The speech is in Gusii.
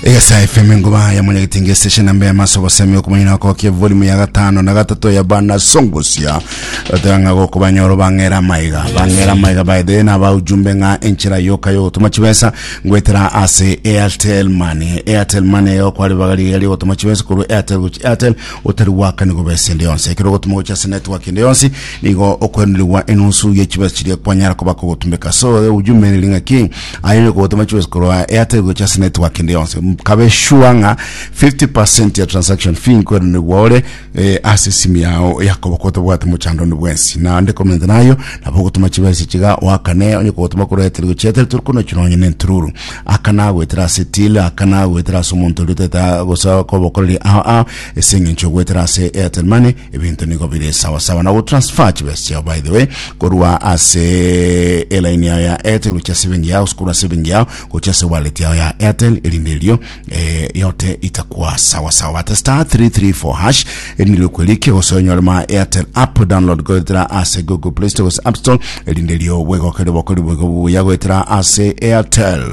Egesa FM engoba ya mwanyagetinga station namba ya maso bosemi okomanyana okokia volume ya gatano na gatato ya bana songosia otanga gokobanyoro bang'era maiga bang'era maiga by the way naba ujumbe ng'a enchera yoka yogotuma chibesa ngwetera ase Airtel Money. Airtel Money eyo kwari bagari yari gotuma chibesa korwa Airtel gochi Airtel otari gwakani gobesa ende yonsi. Ekero ogotuma gochi ase network ende yonsi nigo okwenerigwa enusu ye chibesa chiria kwanyara koba kogotumeka. So ujumbe neri ng'aki aye gotuma chibesa korwa Airtel gochi ase network ende yonsi. Kabe sure ng'a 50% ya transaction fee nkwenerigwa ore eh, ase esimu yao yakoboko otabwate mochando onde bwensi. Naende komenta nayo nabo ogotoma chibesa chiga oakane onye kogotoma korwa Airtel gochia Airtel tori konochia nonye na entururu. Akana goetera ase till, akana goetera ase omonto oria otagete gose kobokoreria ao ao ase eng'encho goetera ase Airtel Money ebinto nigo bire sawa sawa. Na gotransfer chibesa chiao by the way korwa ase elaini yao ya Airtel gochia ase ebenki yao gose korwa ase ebenki yao gochia ase wallet yao ya Airtel erinde erio eh, yote itakuwa sawa sawa. Bata star 334 hash erinde rikwerikia gose onyore ma Airtel app download goetera ase Google Play Store gose App Store erinde rio bwegokere bokori bwego buya goetera ase Airtel.